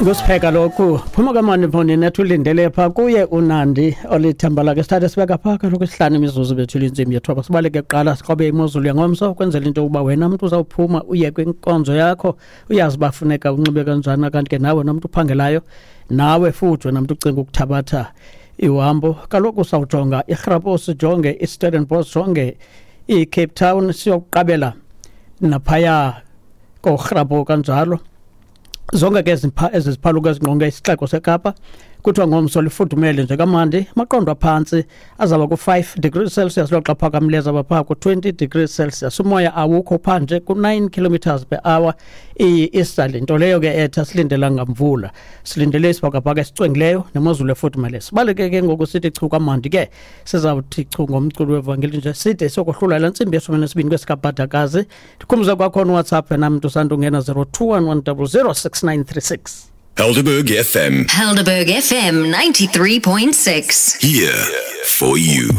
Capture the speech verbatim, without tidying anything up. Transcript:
Kusipheka lokhu phuma kamani mfondini nethi ulindele pha kuye uNandi olithemba lakhe. Sithathe sibeka pha kaloku isihlanu imizuzu bethule intsimbi yethoba. Sibaleke kuqala siqobe imozulu yangomso kwenzela into yokuba wena mntu uzawuphuma uye kwinkonzo yakho uyazi uba funeka unxibe kanjani, kanti ke nawe nomntu uphangelayo nawe futhi wena mntu ucinga ukuthabatha ihambo kaloku sawujonga iRhapo, sijonge iStellenbosch, sijonge iCape Town, siyokuqabela naphaya koRhapo kanjalo. Zonke ke ezi ziphaluka ezingqonge isixeko seKapa kuthiwa ngomso lifudumele nje kamandi, amaqondo aphantsi azaba ku-five degrees Celsius, loxa phakamileyo azaba phaa ku-twenty degrees Celsius. Umoya awukho phandle ku-nine kilometers per hour iyi-easterly, nto leyo ke ethi asilindelanga mvula, silindele isibhakabhaka esicwengileyo nemozulu efudumeleyo. Sibaleke ke ngoku sithi chu kamandi ke sizawuthi chu ngomculo wevangeli nje side siyokohlula la ntsimbi yeshumi nesibini kwesikabhadakazi. Ndikhumbuze kwakhona uWhatsApp yena mntu usandungena zero two one one double zero six nine three six. Helderberg F M. Helderberg F M ninety-three point six. Here for you.